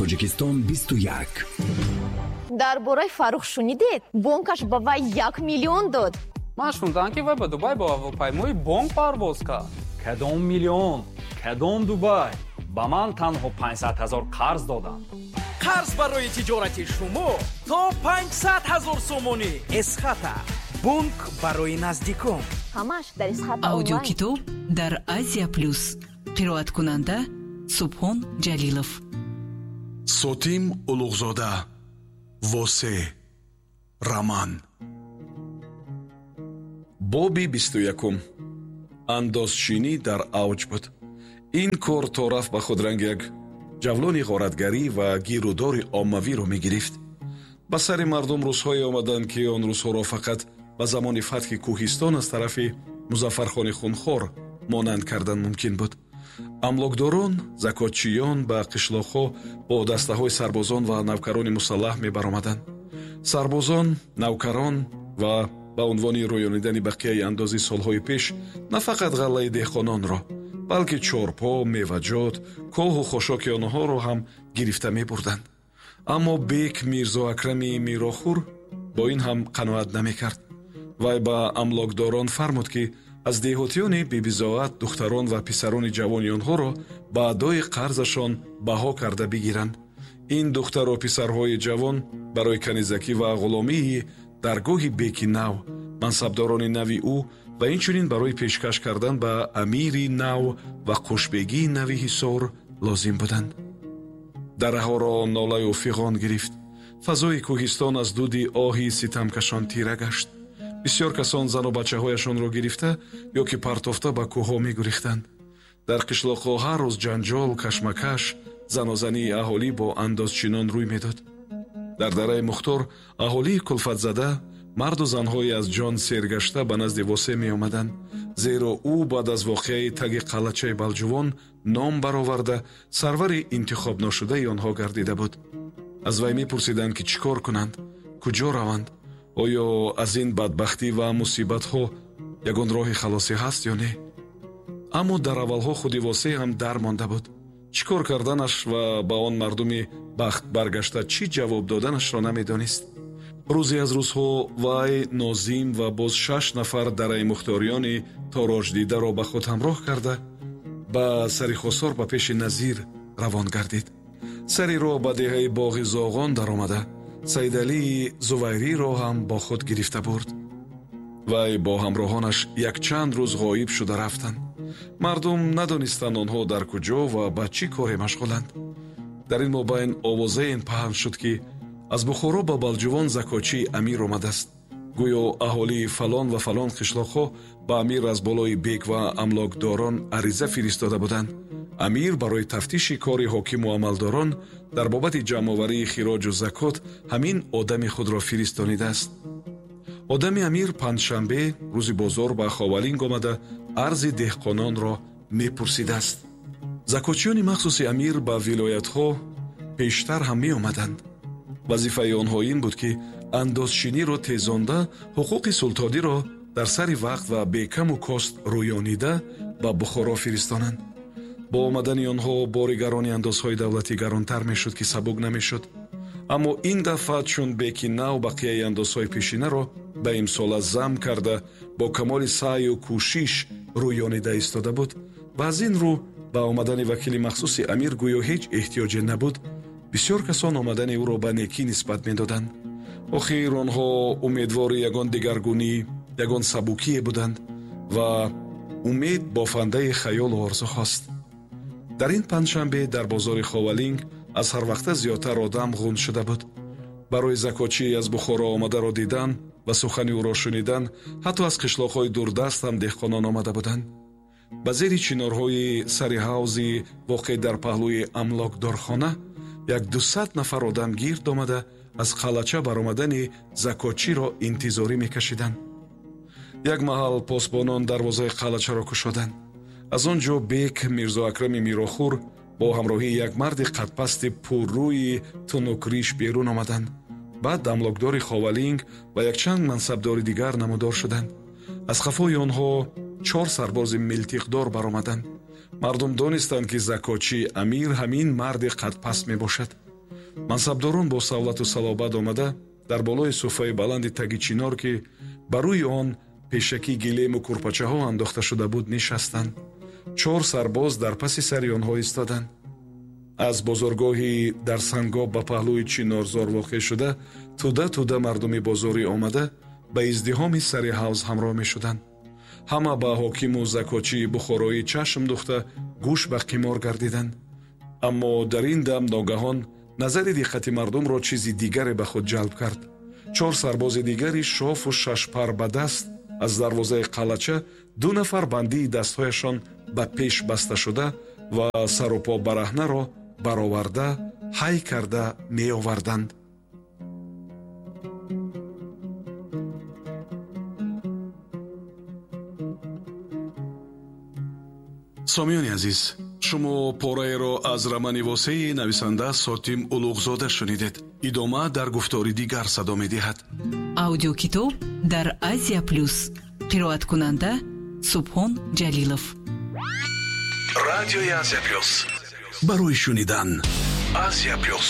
Тоҷикистон 21. Дар бораи Фаррух шунидед? Бонкаш ба вай 1 миллион дод. Ман шунидам, ки вай ба Дубай бо ҳавопаймои бонк парвоз кард. Кадом миллион, кадом Дубай? Ба ман танҳо 500 ҳазор қарз доданд. Қарз барои тиҷорати шумо то 500 ҳазор сомонӣ. Эсхата — бонк барои наздикон. Ҳамаш дар Эсхата Онлайн. Аудиокитоб дар Азия Плюс. Қироаткунанда Субҳон Ҷалилов. Сотим Улуғзода, «Восе», роман. Боби 21-ум. Андозчинӣ дар авҷ буд. Ин кор то рафт ба худ ранги як ҷавлони ғоратгарӣ ва гирудори оммавиро мегирифт. Ба сари мардум рӯзҳое омаданд, ки он рӯзҳоро фақат ба замони фатҳи Кӯҳистон аз тарафи Музаффархони хунхор монанд кардан мумкин буд. Амлокдорон, закотчиён ба қишлоқҳо бо дастаҳои сарбозон ва навкарони мусаллаҳ мебаромаданд. Сарбозон, навкарон ва ба унвони рӯёнидани бақияи андози солҳои пеш на фақат ғаллаи деҳқононро, балки чорпо, меваҷот, коҳу хошоки онҳоро ҳам гирифта мебурданд. Аммо бек Мирзо Акрами Мирохур бо ин ҳам қаноат намекард. Вай ба амлокдорон фармуд, ки аз деҳотиёни бебизоат духтарон ва писарони ҷавони онҳоро ба адои қарзашон баҳо карда бигиранд. Ин духтару писарҳои ҷавон барои канизакӣ ва ғуломии даргоҳи беки нав, мансабдорони нави ӯ ва инчунин барои пешкаш кардан ба амири нав ва қушбегии нави Ҳисор лозим буданд. Дараҳоро нолаю фиғон гирифт. Фазои кӯҳистон аз дуди оҳи ситамкашон тира гашт. Бисёр касон зану бачаҳояшонро гирифта ё ки партофта ба кӯҳҳо мегурехтанд. Дар қишлоқҳо ҳар рӯз ҷанҷол, кашмакаш, занозании аҳолӣ бо андозчинон рӯй медод. Дар Дараи Мухтор аҳолии кулфатзада, марду занҳои аз ҷон сергашта ба назди Восе меомаданд, зеро ӯ баъд аз воқеаи таги қалъачаи Балҷувон ном бароварда, сарвари интихобношудаи онҳо гардида буд. Аз вай мепурсиданд, ки чӣ кор кунанд, куҷо раванд, оё аз ин бадбахтӣ ва мусибатҳо ягон роҳи халосӣ ҳаст ё не. Аммо дар аввалҳо худи Восе ҳам дар монда буд. Чӣ кор карданаш ва ба он мардуми бахт баргашта чӣ ҷавоб доданашро намедонист. Рӯзе аз рӯзҳо вай нозим ва боз шаш нафар Дараи мухториёни тороҷдидаро ба худ ҳамроҳ карда, ба сари Хосор ба пеши назир равон гардид. Сари роҳ ба деҳаи Боғи Зоғон даромада, Саидалии Зувайриро ҳам бо худ гирифта бурд. Вай бо ҳамроҳонаш якчанд рӯз ғоиб шуда рафтанд. Мардум надонистанд, онҳо дар куҷо ва ба чӣ коре машғуланд. Дар ин мобайн овозаен паҳн шуд, ки аз Бухоро ба Балҷувон закотчии амир омадааст. Гӯё аҳолии фалон ва фалон қишлоқҳо ба амир аз болои бек ва амлокдорон ариза фиристода буданд. Амир барои тафтиши кори ҳокиму амалдорон дар бобати ҷамъоварии хироҷу закот ҳамин одами худро фиристонидааст. Одами амир панҷшанбе, рӯзи бозор, ба Ховалинг омада, арзи деҳқононро мепурсидааст. Закотчиёни махсуси амир ба вилоятҳо пештар ҳам меомаданд. Вазифаи онҳо ин буд, ки андозчиниро тезонда, ҳуқуқи султониро дар сари вақт ва бекаму кост рӯёнида ба Бухоро фиристонанд. Бо омадани онҳо бори гарони андозҳои давлатӣ гаронтар мешуд, ки сабук намешуд. Аммо ин дафъа, чун беки нав бақияи андозҳои пешинаро ба имсола зам карда, бо камоли саъю кӯшиш рӯёнида истода буд ва аз ин рӯ ба омадани вакили махсуси амир гӯё ҳеҷ эҳтиёҷе набуд, бисёр касон омадани ӯро ба некӣ нисбат медоданд. Охир онҳо умедвори ягон дигаргунӣ, ягон сабукие буданд ва умед бофандаи хаёлу орзуҳост. Дар ин панҷшанбе дар бозори Ховалинг аз ҳарвақта зиёдтар одам ғун шуда буд. Барои закотчии аз Бухоро омадаро дидан ва сухани ӯро шунидан ҳатто аз қишлоқҳои дурдаст ҳам деҳқонон омада буданд. Ба зери чинорҳои сари ҳавзи воқеъ дар паҳлӯи амлокдорхона як дусад нафар одам гирд омада, аз қалъача баромадани закотчиро интизорӣ мекашиданд. Як маҳал посбонон дарвозаи қалъачаро кушоданд. Аз он ҷо бек Мирзо Акрами Мирохур бо ҳамроҳии як марди қадпасти пуррӯи тунукриш берун омаданд. Баъд амлокдори Ховалинг ва якчанд мансабдори дигар намудор шуданд. Аз қафои онҳо чор сарбози милтиқдор баромаданд. Мардум донистанд, ки закотчии амир ҳамин марди қадпаст мебошад. Мансабдорон бо савлату салобат омада, дар болои суфраи баланди таги чинор, ки ба рӯи он пешакӣ гилему курпачаҳо андохта шуда буд, нишастанд. Чор сарбоз дар паси сари онҳо истоданд. Аз бозоргоҳи дар Сангоб ба паҳлӯи Чинорзор воқеъ шуда, тӯда тӯда мардуми бозорӣ омада, ба издиҳоми сари ҳавз ҳамроҳ мешуданд. Ҳама ба ҳокиму закотчии бухороӣ чашм духта, гӯш ба қимор гардиданд. Аммо дар ин дам ногаҳон назари диққати мардумро чизи дигаре ба худ ҷалб кард. Чор сарбози дигари шофу шашпар ба даст аз дарвозаи қалъача ду нафар бандии дастҳояшон ба пеш баста шуда ва сарупо бараҳнаро бароварда, ҳай карда меоварданд. Сомиёни азиз, шумо пораеро аз романи восеи нависанда Сотим Улуғзода шунидед. Идома дар гуфтори дигар садо медиҳад. Аудиокитоб дар Азия Плюс. Қироаткунанда Субҳон Ҷалилов. Радиои Азия Плюс. Барои шунидан. Азия Плюс.